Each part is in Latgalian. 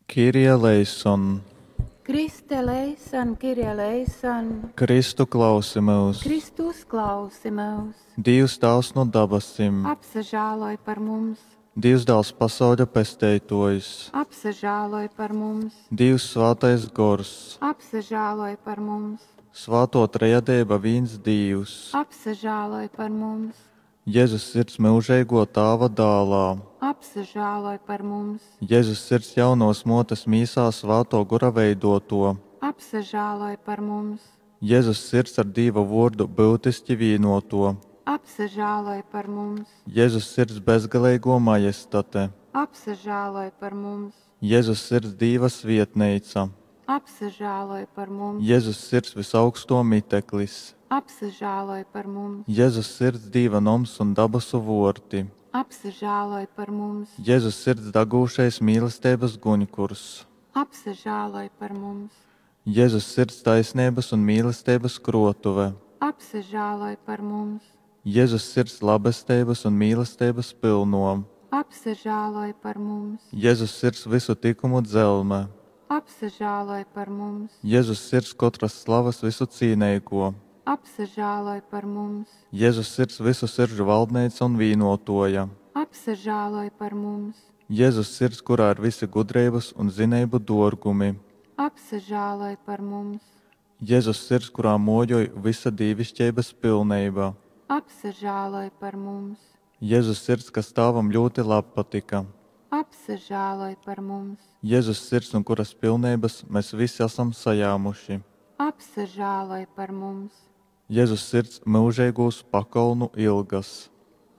Kyrie eleison! Kriste eleison, Kyrie eleison! Kristu klausi myus! Kristu uzklausi myus! Dīvs Tāvs nu dabasim! Apsažāloj par mums! Dīvs Dāls pasauļa Pesteitōjs! Apsažāloj par mums! Dīvs Svātais Gors! Apsažāloj par mums! Svātō Trejadeiba vīns Dīvs! Apsažāloj par mums! Jezus Sirds myužeigō Tāva Dālā! Apsažāloj par mums! Jezus Sirds jaunovas Mōtes mīsā Svātō Gora veidōtō! Apsažāloj par mums! Jezus Sirds ar Dīva Vōrdu byutiski vīnōtō! Apsažāloj par mums! Jezus Sirds bezgaleigō Majestate! Apsažāloj par mums! Jezus Sirds Dīva svietneica! Apsažāloj par mums! Jezus Sirds vysaugstō miteklis! Apsažāloj par mums! Jezus Sirds Dīva noms un dabasu vōrti! Apsažāloj par mums! Jezus Sirds dagūšais mīlesteibas guņkurs! Apsažāloj par mums! Jezus Sirds taisneibas un mīlesteibas krōtuve! Apsažāloj par mums! Jezus Sirds labesteibas un mīlesteibas pylnō! Apsažāloj par mums! Jezus Sirds vysu tykumu dzelme! Apsažāloj par mums! Jezus Sirds kotras slavas vysucīneigō! Apsažāloj par mums! Jezus Sirds vysu siržu valdneica un vīnōtōja! Apsažāloj par mums! Jezus Sirds, kurā ir vysi gudreibas un zineibu dōrgumi! Apsažāloj par mums! Jezus Sirds, kurā mōjoj vysa dīviškeibas pilneiba! Apsažāloj par mums! Jezus Sirds, kas Tāvam ļūti labpatyka! Apsažāloj par mums! Jezus Sirds, nu kuras pilneibas mes vysi asam sajāmuši! Apsažāloj par mums! Jezus Sirds, myužeigūs pakolnu ilgas!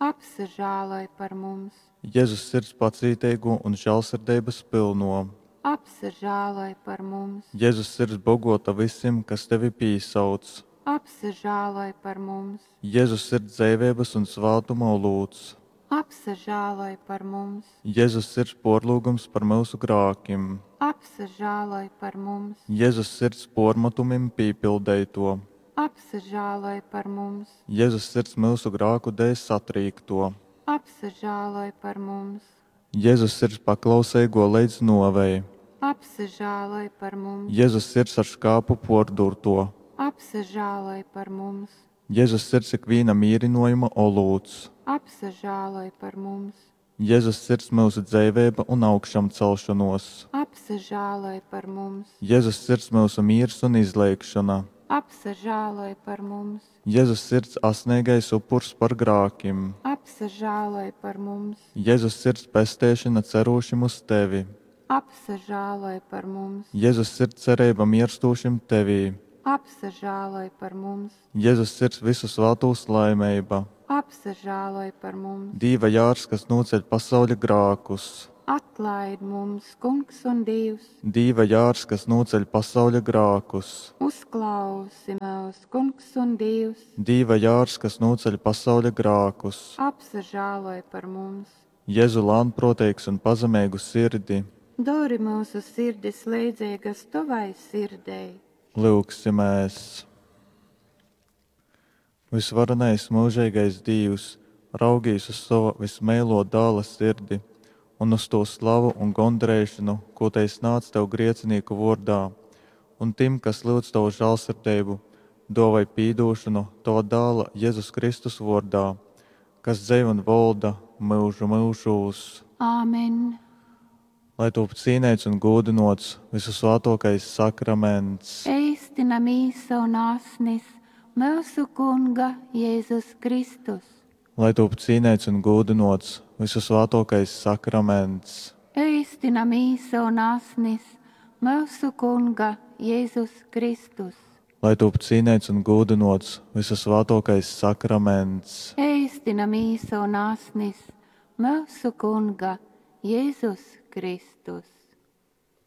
Apsažāloj par mums! Jezus Sirds pacīteigō un žālsirdeibas pylnō! Apsažāloj par mums! Jezus Sirds bogōta vysim, kas tevi pīsauc! Apsažāloj par mums! Jezus Sirds dzeiveibas un svātuma olūts! Apsažāloj par mums! Jezus Sirds pōrlyugums par myusu grākim! Apsažāloj par mums! Jezus Sirds pōrmatumim pīpildeitō! Apsažāloj par mums! Jezus Sirds myusu grāku dēļ satrīktō! Apsažāloj par mums! Jezus Sirds paklauseigō leidz nōvei! Apsažāloj par mums! Jezus Sirds ar škāpu pōrdūrtō! Apsažāloj par mums! Jezus Sirds ikvīna mīrynōjuma olūts! Apsažāloj par mums! Jezus Sirds myusu dzeiveiba un augšamcelšonōs! Apsažāloj par mums! Jezus Sirds myusu mīrs un izleigšona! Apsažāloj par mums! Jezus Sirds asneigais upurs par grākim! Apsažāloj par mums! Jezus Sirds pesteišona cerūšim uz tevi! Apsažāloj par mums! Jezus Sirds cereiba mierstūšim tevī! Apsažāloj par mums! Jezus Sirds vysu svātūs laimeiba! Apsažāloj par mums! Dīva jārs, kas nūceļ pasauļa grākus! Atlaid mums, Kungs un Dīvs! Dīva jārs, kas nūceļ pasauļa grākus! Uzklausi myus, Kungs un Dīvs! Dīva jārs, kas nūceļ pasauļa grākus! Apsažāloj par mums! Jezu lānprōteigs un pazemeigu sirdi! Dori myusu sirdis leidzeigas tovai sirdei! Lyugsimēs. Vysvarenais myužeigais Dīvs, raugīs uz sova vysmeilō Dāla sirdi un uz tū slavu un gondareišonu, kū tei snādz tev griecinīku vōrdā, un tim, kas lyudz tovu žālsirdeibu, dōvoj pīdūšonu tova Dāla Jezus Kristus vōrdā, kas dzeiv un volda myužu myužūs. Āmen! Lai tūp cīneits un gūdynōts vysusvātōkais sakraments. Eistyna mīsa un asnis myusu Kunga Jezus Kristus. Lai tūp cīneits un gūdynōts vysusvātōkais sakraments. Eistyna mīsa un asnis myusu Kunga Jezus Kristus. Lai tūp cīneits un gūdynōts vysusvātōkais sakraments. Eistina mīsa un asnis myusu Kunga Jezus Kristus.